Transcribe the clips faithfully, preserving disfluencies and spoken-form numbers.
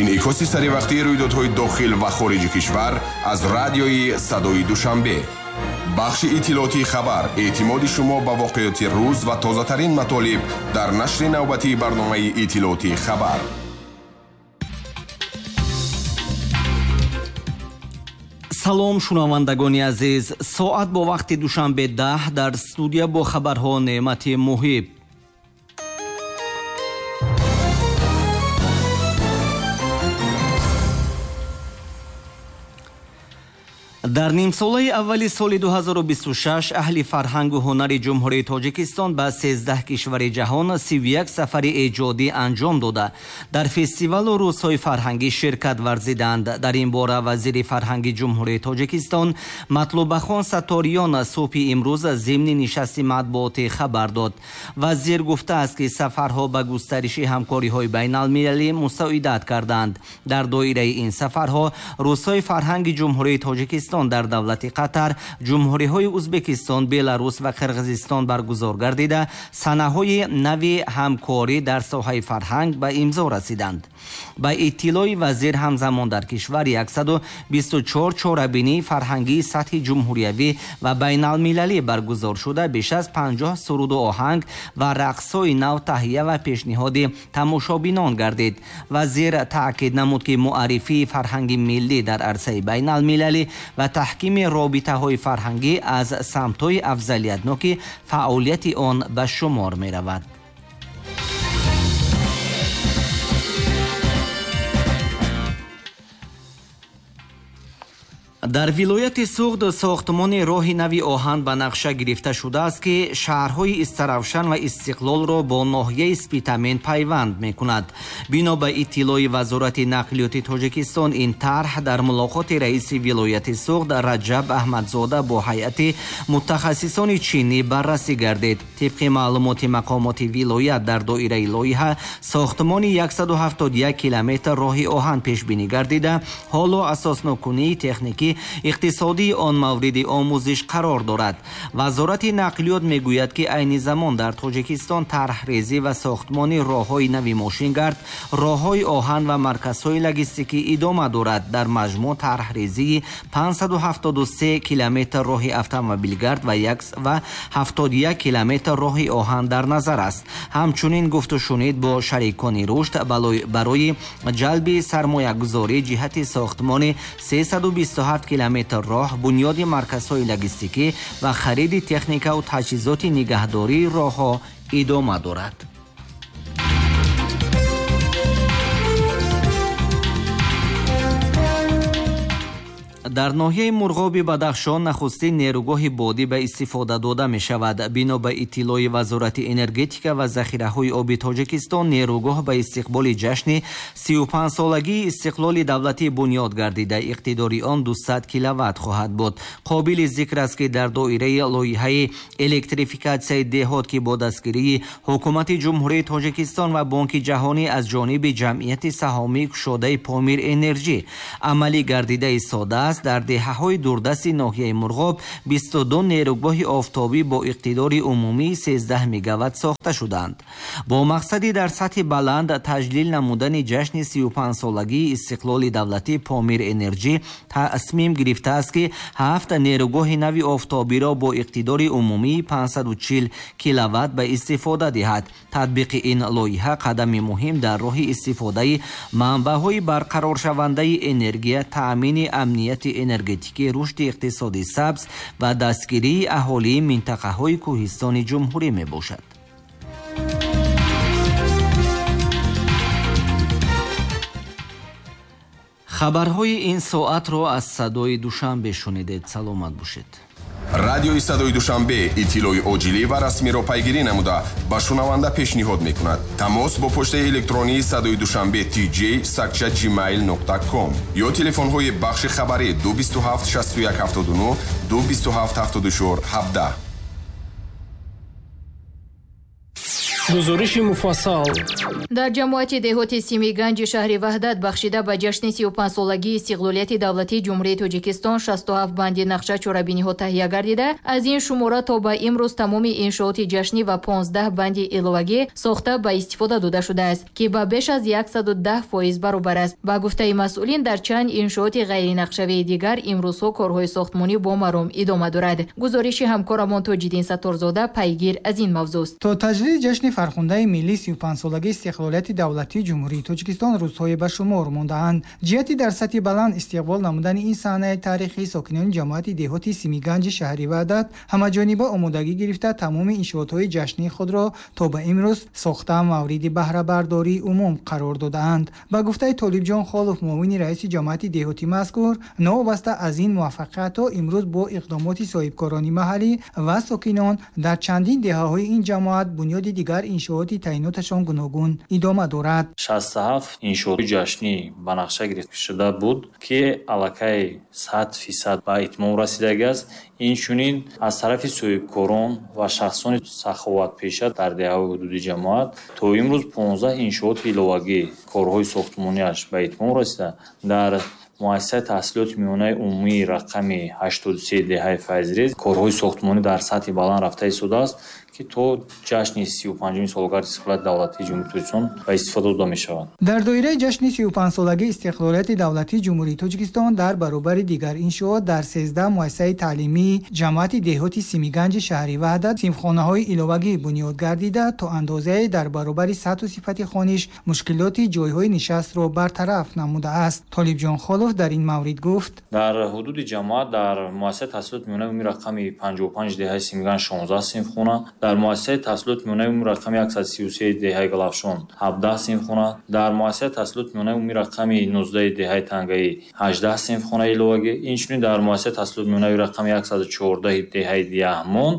Инъикоси саривақтии рӯйдодҳои дохил ва хориҷи кишвар аз радиои Садои Душанбе. Бахши иттилоотии хабар, эътимоди шумо ба воқеоти рӯз ва тозатарин матолиб дар нашри навбатии барномаи иттилоотии хабар. Салом, шунавандагони азиз. Соат бо вақти Душанбе даҳ, дар студия бо хабарҳо Неъмати Муҳиб. Дар нимсолаи аввали соли ду ҳазору бисту шаш аҳли фарҳангу ҳунари Ҷумҳурии Тоҷикистон ба сездаҳ кишвари ҷаҳон сиву як сафари эҷодӣ анҷом дода, дар фестивалу рӯзҳои фарҳангӣ ширкат варзиданд. Дар ин бора вазири фарҳанги Ҷумҳурии Тоҷикистон Матлубахон Сатториён субҳи имрӯз зимни нишасти матбуотӣ хабар дод. Вазир гуфтааст, ки сафарҳо ба густариши ҳамкориҳои байналмилалӣ мусоидат карданд. Дар доираи ин сафарҳо рӯзҳои фарҳанги Ҷумҳурии Тоҷикистон дар давлати Қатар, ҷумҳуриҳои Узбекистон, Беларус ва Қирғизистон баргузор гардида, санаҳои нави ҳамкорӣ дар соҳаи фарҳанг ба имзо расиданд. Ба иттилои вазир, ҳамзамон дар кишвар яксаду бисту чор чорабинии фарҳангии сатҳи ҷумҳуриявӣ ва байналмилалӣ баргузор шуда, беш аз панҷоҳ суруду оҳанг ва рақсҳои нав таҳия ва пешниҳоди тамошобинон гардид. Вазир таъкид намуд, ки муаррифии фарҳанги миллӣ дар арсаи байналмилалӣ ва таҳкими робитаҳои фарҳангӣ аз самтҳои афзалиятноки фаъолияти он ба шумор меравад. Дар вилояти Суғд сохтмони роҳи нави оҳан ба нақша гирифта шудааст, ки шаҳрҳои Истаравшан ва Истиқлолро бо ноҳияи Спитамен пайванд мекунад. Бино ба иттилои Вазорати нақлиёти Тоҷикистон, ин тарҳ дар мулоқоти раиси вилояти Суғд Раҷаб Аҳмадзода бо ҳайати мутахассисони чинӣ баррасӣ гардид. Тибқи маълумоти мақомоти вилоят, дар доираи лоиҳа сохтмони яксаду ҳафтоду як километр роҳи оҳан пешбинӣ гардида, ҳоло асоснокунии техникӣ иқтисодии он мавриди омӯзиш қарор дорад. Вазорати нақлиёт мегӯяд, ки айни замон дар Тоҷикистон тарҳрезӣ ва сохтмони роҳҳои нави мошингард, роҳҳои оҳан ва марказҳои логистикӣ идома дорад. Дар маҷмӯъ тарҳрезии панҷсаду ҳафтоду се километр роҳи автомобилгард ва ҳафтоду як километр роҳи оҳан дар назар аст. Ҳамчунин гуфтушунид бо шарикони рушд барои ҷалби сармоягузорӣ ҷиҳати сохтмони сесаду бисту ҳафт километр роҳ, бунёди марказҳои логистикӣ ва хариди техникаву таҷҳизоти нигаҳдории роҳҳо идома дорад. Дар ноҳияи Мурғоби Бадахшон нахустин нерӯгоҳи бодӣ ба истифода дода мешавад. Бино ба иттилои Вазорати энергетика ва захираҳои оби Тоҷикистон, нерӯгоҳ ба истиқболи ҷашни сию панҷсолагии истиқлоли давлатӣ бунёд гардида, иқтидори он дусад киловатт хоҳад буд. Қобили зикр аст, ки дар доираи лоиҳаи электрификатсияи деҳот, ки бо дастгирии Ҳукумати Ҷумҳурии Тоҷикистон ва Бонки Ҷаҳонӣ аз ҷониби ҷамъияти саҳомии кушодаи Помир Энерҷӣ амалӣ гардида истодааст, дар деҳаҳои дурдасти ноҳияи Мурғоб бисту ду нерӯгоҳи офтобӣ бо иқтидори умумии сездаҳ мегаватт сохта шуданд. Бо мақсади дар сатҳи баланд таҷлил намудани ҷашни сию панҷсолагии истиқлоли давлатӣ, Помир Энерҷӣ тасмим гирифтааст, ки ҳафт нерӯгоҳи нави офтобиро бо иқтидори умумии панҷсаду чил киловатт ба истифода диҳад. Татбиқи ин лоиҳа қадами муҳим дар роҳи истифодаи манбаъҳои барқароршавандаи энергия, таъмини амнияти энергетикӣ, рушди иқтисоди сабз ва дастгирии аҳолии минтақаҳои кӯҳистони ҷумҳурӣ мебошад. Хабарҳои ин соатро аз Садои Душанбе шунидед. Саломат бошед. Радиои Садои Душанбе иттилои оҷилӣ ва расмиро пайгирӣ намуда ба шунаванда пешниҳод мекунад. Тамос бо почтаи электронии Садои Душанбе tj сакча gmail нуқта ком ё телефонҳои бахши хабарӣ ду бисту ҳафт шасту як ҳафтоду нӯҳ, ду бисту ҳафт ҳафтоду чор ҳабдаҳ. Гузориши муфассал. Дар ҷамоати деҳоти Симиганҷи шаҳри Ваҳдат бахшида ба ҷашни сию панҷсолагии истиқлолияти давлатии Ҷумҳурии Тоҷикистон шасту ҳафт банди нақша чорабиниҳо таҳия гардида, аз ин шумора то ба имрӯз тамоми иншооти ҷашнӣ ва понздаҳ банди иловагӣ сохта ба истифода дода шудааст, ки ба беш аз яксаду даҳ фоиз баробар аст. Ба гуфтаи масъулин, дар чанд иншооти ғайринақшавии дигар имрӯзҳо корҳои сохтмонӣ бо маром идома дорад. Гузориши ҳамкорамон Тоҷиддин Сатторзода пайгир аз ин мавзӯст. То таҷлили ҷашни фархундаи миллии сию панҷсолагии истиқлолияти давлатии Ҷумҳурии Тоҷикистон рӯзҳое ба шумор мондаанд. Ҷиҳати дар сатҳи баланд истиқбол намудани ин саҳнаи таърихӣ, сокинони ҷамоати деҳоти Симиганҷи шаҳри Ваҳдат ҳамаҷониба омодагӣ гирифта тамоми иншоотҳои ҷашнии худро то ба имрӯз сохта мавриди баҳрабардории умум қарор додаанд. Ба гуфтаи Толибҷон Холов, муовини раиси ҷамоати деҳоти мазкур, новобаста аз ин муваффақиятҳо имрӯз бо иқдомоти соҳибкорони маҳаллӣ ва сокинон дар чандин деҳаҳои ин ҷамоат бунёди дигар иншооти таъиноташон гуногун идома дорад. Шасту ҳафт иншооти ҷашнӣ ба нақша гирифта шуда буд, ки аллакай сад фисад ба итмом расидагиаст. Инчунин аз тарафи соҳибкорон ва шахсони саховатпеша дар деҳаҳои ҳудуди ҷамоат то имрӯз понздаҳ иншооти иловагӣ корҳои сохтмониаш ба итмом расида, дар муассисаи таҳсилоти миёнаи умумии рақами ҳаштоду се деҳаи Файзрез корҳои сохтмонӣ дар сатҳи баланд рафта истодааст, ки то ҷашни сию панҷуми солгарди истиқлолияти давлатии Ҷумҳурии Тоҷикистон ба истифода дода мешавад. Дар доираи ҷашни сию панҷсолагии истиқлолияти давлатии Ҷумҳурии Тоҷикистон дар баробари дигар иншоот дар сездаҳ муассисаи таълимии ҷамоати деҳоти Симиганҷи шаҳри Ваҳдат синфхонаҳои иловагӣ бунёд гардида, то андозае дар баробари сатҳу сифати хониш мушкилоти ҷойҳои нишастро бартараф намудааст. Толибҷон Холов дар ин маврид гуфт: дар ҳудуди ҷамоат дар муассисаи таҳсилоти миёнаи умумии рақами панҷоҳу панҷ деҳаи Симиганҷ шонздаҳ синфхона, дар муассисаи таҳсилоти миёнаи умумии рақами яксаду сию се деҳаи Галафшон ҳабдаҳ синфхона, дар муассисаи таҳсилоти миёнаи умумии рақами нуздаҳ деҳаи Тангаӣ ҳаждаҳ синфхонаи иловагӣ, инчунин дар муассисаи таҳсилоти миёнаи рақами яксаду чордаҳ деҳаи Яҳмон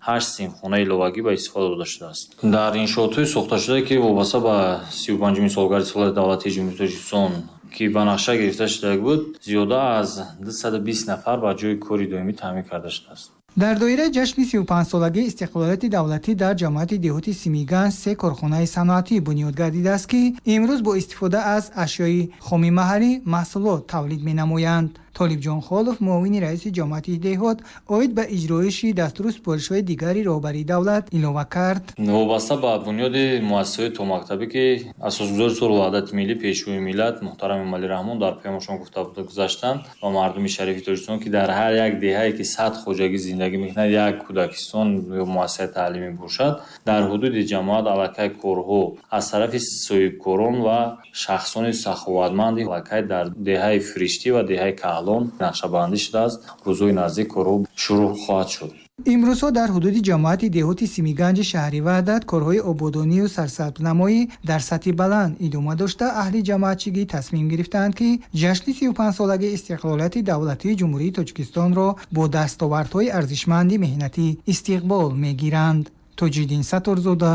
ҳашт синфхонаи иловагӣ ба истифода дода шудааст. Дар иншоотҳои сохташуда, ки вобаста ба сию панҷуми солгарди истиқлолияти давлатии Ҷумҳурии Тоҷикистон ки ба нақша гирифта шуда буд, зиёда аз дусаду бист нафар ба ҷои кори доимӣ таъмин карда шудааст. Дар доираи ҷашни сию панҷсолагии истиқлолияти давлатӣ дар ҷамоати деҳоти Симиганҷ се корхонаи саноатӣ бунёд гардидааст, ки имрӯз бо истифода аз ашёи хоми маҳаллӣ маҳсулот тавлид менамоянд. Толибҷон Холов, муовини раиси ҷамоати деҳот, оид ба иҷроиши дастуру супоришҳои дигари роҳбарии давлат илова кард: вобаста ба бунёди муассисаҳои томактабӣ, ки асосгузори сулҳу ваҳдати миллӣ, пешвои миллат муҳтарам Эмомалӣ Раҳмон дар паёмашон гуфта гузаштанд ба мардуми шарифи Тоҷикистон, ки дар ҳар як деҳае ки сад хоҷагӣ зиндагӣ мекунад, як кӯдакистон ё муассисаи таълимӣ бошад, дар ҳудуди ҷамоат аллакай корҳо аз тарафи соҳибкорон ва шахсони саховатманди аллакай дар деҳаи Фириштӣ ва деҳаи Каҳлон нақшабандӣ шудааст. Рӯзҳои наздик корҳо шурӯъ хоҳад шуд. Имрӯзҳо дар ҳудуди ҷамоати деҳоти Симиганҷи шаҳри Ваҳдат корҳои ободонию сарсабзнамоӣ дар сатҳи баланд идома дошта, аҳли ҷамоатчигӣ тасмим гирифтаанд, ки ҷашни сию панҷсолагии истиқлолияти давлатии Ҷумҳурии Тоҷикистонро бо дастовардҳои арзишманди меҳнатӣ истиқбол мегиранд. Тоҷиддин Сатторзода,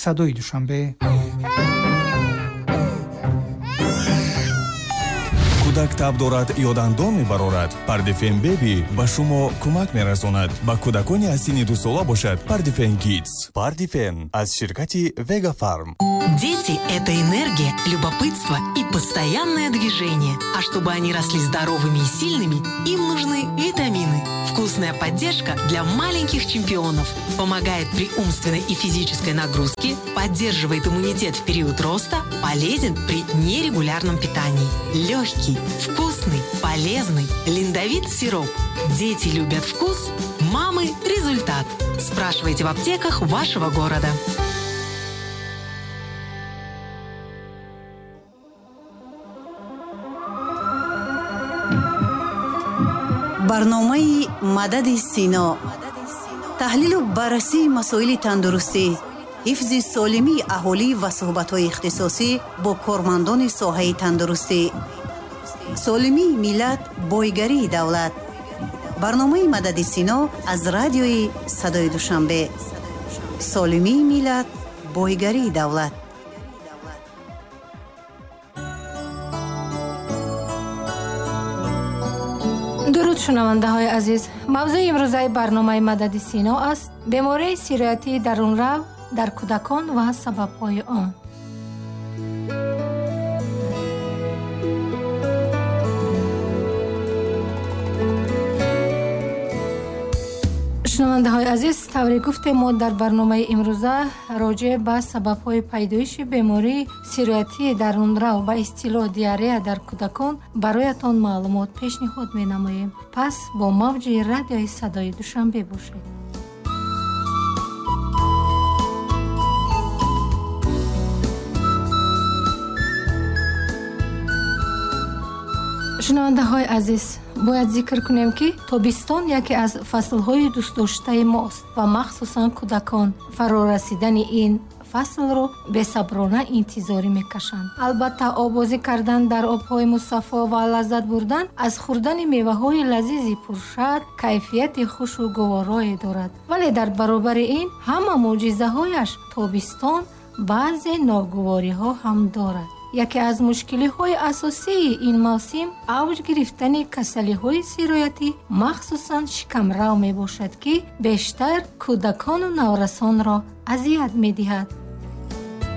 Садои Душанбе. Кӯдак таб дорад ё дандон мебарорад, Пардифен Беби ба шумо кӯмак мерасонад. Ба кӯдакони аз синни дусола бошад Пардифен Кидс. Пардифен аз ширкати Вега Фарм. Дети – это энергия, любопытство и постоянное движение. А чтобы они росли здоровыми и сильными, им нужны витамины. Вкусная поддержка для маленьких чемпионов. Помогает при умственной и физической нагрузке, поддерживает иммунитет в период роста, полезен при нерегулярном питании. Легкий, вкусный, полезный Линдовит сироп. Дети любят вкус, мамы – результат. Спрашивайте в аптеках вашего города. Барномаи Мадади Сино, таҳлилу баррасии масоили тандурустӣ, ҳифзи солимии аҳолӣ ва суҳбатҳои ихтисосӣ бо кормандони соҳаи тандурустӣ. Солимии миллат, бойгарии давлат. Барномаи Мадади Сино аз радиои Садои Душанбе. Солимии миллат, бойгарии давлат. Дуруд шунавандаҳои азиз. Мавзӯи имрӯзаи барномаи Мадади Сино аст бемории сироятии дарунрав дар кӯдакон ва сабабҳои он. Шунавандаҳои азиз, тавре гуфтем, мо дар барномаи имрӯза роҷеъ ба сабабҳои пайдоиши бемории сироятии дарунрав ба истилоҳ диарея дар кӯдакон бароятон маълумот пешниҳод менамоем. Пас бо мавҷи радиои садои Душанбе бошед. Шунавандаҳои азиз, бояд зикр кунем, ки тобистон яке аз фаслҳои дӯстдоштаи мост ва махсусан кӯдакон фарорасидани ин фаслро бесаброна интизорӣ мекашанд. Албатта, оббозӣ кардан дар обҳои мусаффо ва лаззат бурдан аз хӯрдани меваҳои лазизи пуршад кайфияти хушу гуворое дорад. Вале дар баробари ин ҳама мӯъҷизаҳояш тобистон баъзе ногувориҳо ҳам дорад. Яке аз мушкилиҳои асосии ин мавсим авҷ гирифтани касалиҳои сироятӣ, махсусан шикамрав мебошад, ки бештар кӯдакону наврасонро азият медиҳад.